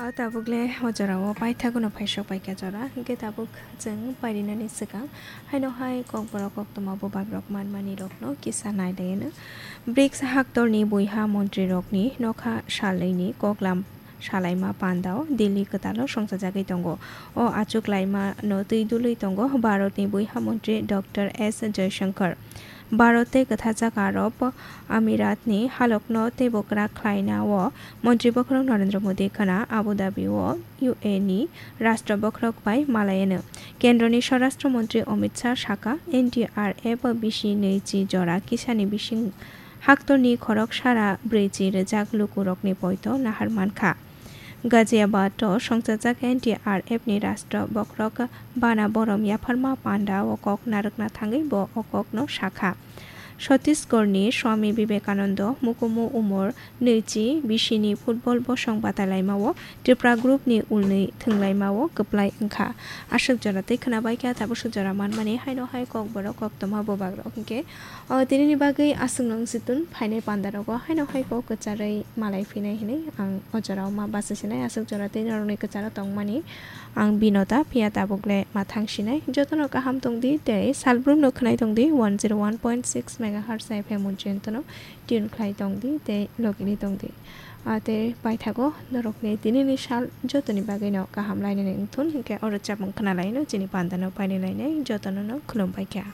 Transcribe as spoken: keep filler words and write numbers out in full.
O tabuk le o jora o paithago no phaisok paikha jora, hwnkhe tabuk chwng pairinani swkang haino hai kokborok koktwma bubagrok manmani rokno kisa nailaino. BRICS haktorni buiha montrirokni nokha salnwini koklam salaima pandao Delhi kwtalo songchajagwi tongo. O achuk laimano twi dului tongo Bharatni buiha montri Doctor S Jaishankar. Bharat tei kwthajak Arab Amiratni halokno teibo kwrak khlaina o Montri bokhorok Narendra Modi khwna Abu Dhabi o U A E ni Rashtra bokhorok bai malaiyano. Kendroni Swarashtra Montri Amit Shah sakha, N D R F bisi nwichi jora kisani bising haktorni khorok sara brwichi rwjak lukurokni poito nahar mankha. Ghaziabad o songchajak N D R F ni Rashtra bokhorok bana borom yapharma panda o kok narwkna thangwi bo o kokno sakha. Chhattisgarhni Swami Vivekananda mukumu umor nwichi bisini football bosong batailaimao Tripura group ni ulnwi thwnglaimao kwplai wngkha. Aswk jora tei khwnabaikha tabuk swk jora manmani haino hai kokborok koktwma bubagrok hwnkhe o tinini bagwi aswkno wngsi tun phainai pandarogo haino hai kok kwcharwi malai phinai hinwi ang o jorao ma bachai sinai aswk jora tei norokni kwcharo tongmani. Ang Binota, phiya tabuk le ma thang sinai. Jotono kaham tong di tei salbrumno khwnai tong di, one zero one point six megahertz F M Mujintono tune khlai tong di tei logini tong di. A tei paithago norokni tinini sal jotoni bagwino kaham lainani wngthun, hinkhe oro chapmung khna laino chini pandano paini lainai jotono no khulum bai kha.